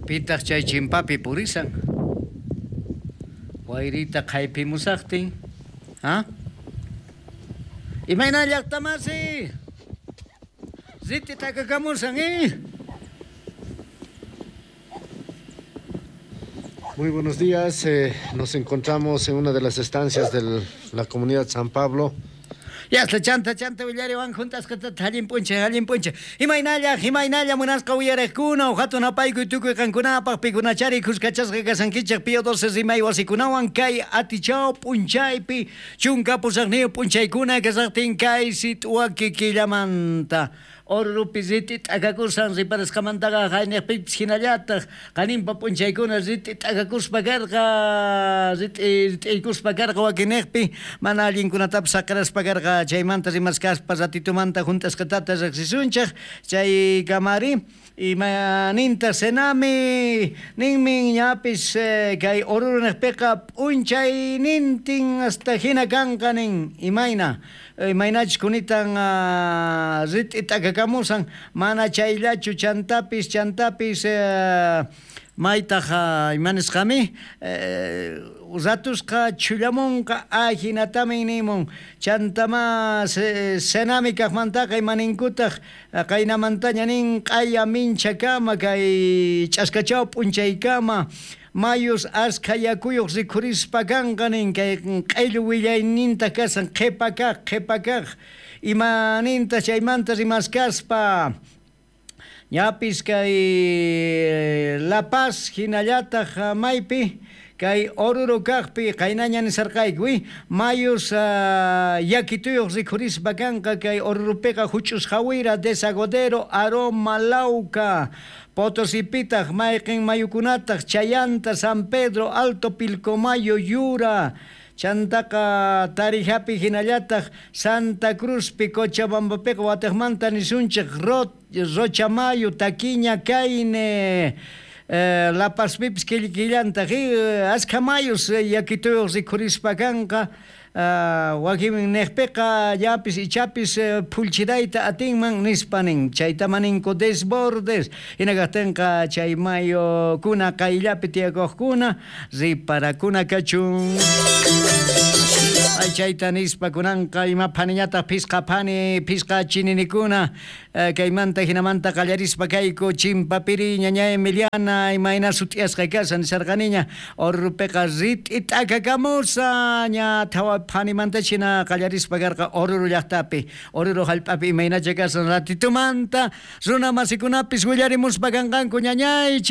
Pitaq chay chimpapi purisan? Wayrita qhaypimusaqtin, ha? Imayna llaqtamasi? Riti takakamusan, eh? Muy buenos días, nos encontramos en una de las estancias de la comunidad San Pablo. Yasla chanta chanta willariwan junt'asqatata allin p'unchay allin p'unchay imaynalla imaynalla munasqa uyariqkuna uj hatun apaykuy tukuy qankunapaq pikunachari khuskachasqa kasankichej Pío 12 rimay wasikunawan kay atichaw p'unchaypi 18 p'unchaykuna kasaqtin kay sit'waki killamanta Orurupi rit'i t'akakusan riparasqamantaqa jaynejpipis jinallataj qaninpa p'unchaykuna rit'i t'akakuspa karqa, rit'i rit'iykuspa karqa wakinnejpi mana allinkunatapis saqeraspa karqa. Chaymanta rimaskaspa ratitumanta junt'asqatata rejsisunchej. Chaykamari ima nintaj Senami ninmin ñapis kay Oruro nejpeqa p'unchaynintin hasta jina kanqa nin imayna. Imaynachus kunitan rit'i t'akakamusan, mana chayllachu chantapis chantapis maytaj ima nisqami ratusqa chhullamonqa ajinatamin nimun. Chantamá Senami kajmantaqa ima ninkutaj qaynamantaña nin q'aya minchakama kay ch'askachaw p'unchaykama. Mayus askha yakuyoj rikhurispa kanqa nin kay q'ellu willaynintaj kasan qhepa kaj qhepa kaj ima nintaj chaymanta rimaskaspa ñapis kay La Paz jinallataj maypi kay Oruro kajpi qaynaña nisarqayku mayus yakituyoj rikhurispa kanqa kay Orurupiqa juch'us jawira Desagodero Aroma Lauca Potosipitaj mayqen mayukunataj Chayanta San Pedro Alto Pilcomayo Yura chantaqa Tarijapi jinallataj Santa Cruzpi Cochabambapiqa watejmanta nisunchej Rochamayo Taquiña Cayne La Pazpipis killantaj askha mayus yakituyoj rikhurispa kanqa wakin nejpeqa llapis ichapis phullchirayta atinman nispa nin chaytama ninku desbordes jina kajtenqa chay mayukuna qayllapi tiyakojkuna riparakuna kachun. Ay chayta nispa kunanqa ima phaniñataj phisqa phani phisqa chininikuna kaymanta jinamanta qallarispa kayku Chimpapiri ñaña Emiliana imayna sut'iyasqa kashan nisarqaniña Orurupiqa rit'i t'akakamusa ña thawa phanimanta china qallarispa karqa Oruro llaqtapi Oruro jallp'api imaynacha kashan ratitumanta runa masikunapis willarimuspa kanqanku ñañay.